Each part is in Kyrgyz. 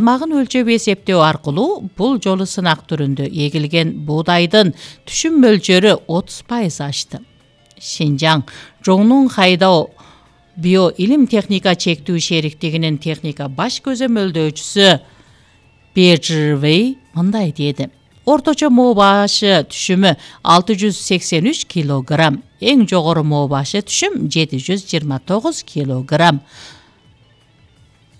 Салмагын өлчөп эсептөө аркылуу бул жолу сынак түрүндө эгилген буудайдын түшүм мөлчөрү 30% ашты. Шинжаң Жоңнун Хайдао био илим техника чектүү шериктигинин техника баш көзөмөлдөөчүсү Бежирвей мындай деди. Орточо моо башы түшүмү 683 килограмм, эң жогору моо башы түшүм 729 килограмм.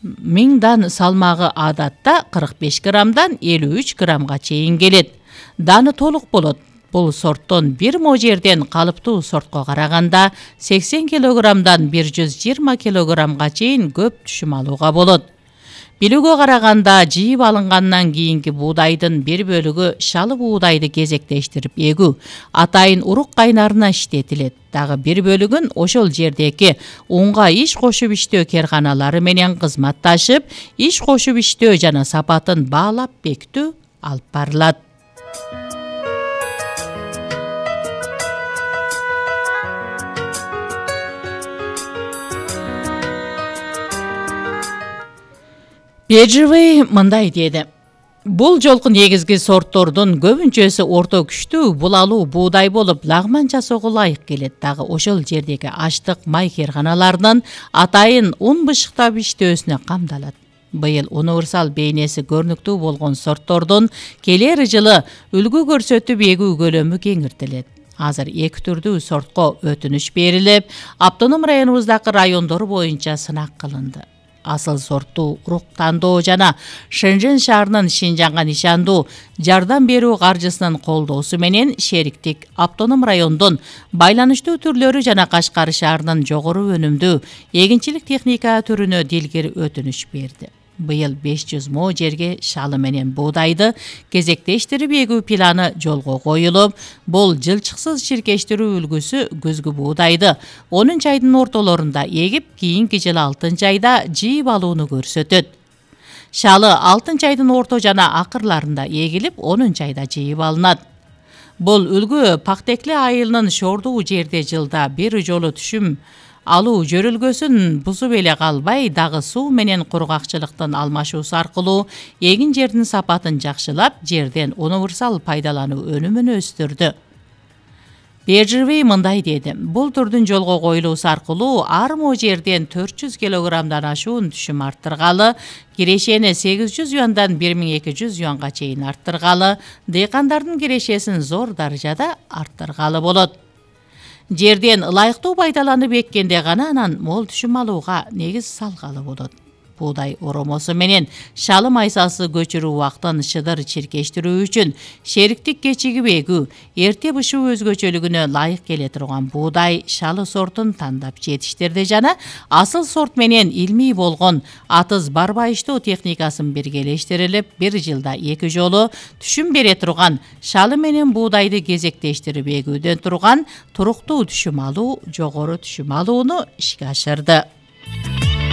Миңдан салмагы адатта 45 граммдан 53 граммга чейин келет. Даны толук болот. Бул сорттон бир мо жерден калыптуу сортко караганда 80 килограммдан 120 килограммга чейин көп түшүм алууга болот. Билүүгө караганда жыйып алынгандан кийинки буудайдын бир бөлүгү шалы буудайды кезектештирип эгүү атайын урук кайнарына иштетилет. Дагы бир бөлүгүн ошол жердеки унга иш кошуп иштөө керканалары менен кызматташып, иш кошуп иштөө жана сапатын баалап бекитүү алып барылат. Бежирвей мындай деди. Бул жолку негизги сорттордун көбүнчөсү орто күчтүү булалуу буудай болуп, лагман жасоого ылайык келет. Дагы ошол жердеги аштык май керканаларынын атайын ун бышыктап иштөөсүнө камдалат. Быйыл универсал бейнеси көрүнүктүү болгон сорттордун келер жылы үлгү көрсөтүп эгүү көлөмү кеңиртилет. Азыр эки түрдүү сортко өтүнүш берилип, автоном районубуздагы райондор боюнча сынак кылынды. Асыл сорттуу урук тандоо жана Шэньчжэн шаарынын Шинжаңга нишандуу жардам берүү каржысынын колдоосу менен шериктик автоном райондун байланыштуу түрлөрү жана Кашкар шаарынын жогору өнүмдүү эгинчилик техника түрүнө дилгир өтүнүш берди. Быйыл 500 мо жерге шалы менен буудайды кезектештирип эгүү планы жолго коюлуп, бул жылчыксыз чиркештирүү үлгүсү күзгү буудайды 10 айдын ортолорунда эгип, кийинки жылы 6 айда жыйып алууну көрсөтөт. Шалы 6 айдын орто жана акырларында эгилип, 10 айда жыйып алынат. Бул үлгү Пактекли айылынын шордуу жерде жылда бир жолу түшүм алуу жөрөлгөсүн бузуп эле калбай, дагы суу менен кургакчылыктын алмашуусу аркылуу эгин жердин сапатын жакшылап, жерден универсал пайдалануу өнүмүн өстүрдү. Бежирвей мындай деди. Бул түрдүн жолго коюлуусу аркылуу ар мо жерден 400 килограммдан ашуун түшүм арттыргалы, кирешени 800 юандан 1200 юанга чейин арттыргалы, дыйкандардын кирешесин зор даражада арттыргалы болот. Жерден ылайыктуу пайдаланып эккенде гана анан мол түшүм алууга негиз салгалы болот. Буудай оромосу менен шалы майсасы көчүрүү убактын шыдыр чиркештирүү үчүн шериктик кечигип эгүү, эрте бышуу өзгөчөлүгүнө ылайык келе турган буудай шалы сортун тандап жетиштирди жана асыл сорт менен илмий болгон атыз барбайыштоо техникасын биргелештирилип, бир жылда 2 жолу түшүм бере турган шалы менен буудайды кезектештирип эгүүдөн турган туруктуу түшүм алуу, жогору түшүм алууну ишке ашырды.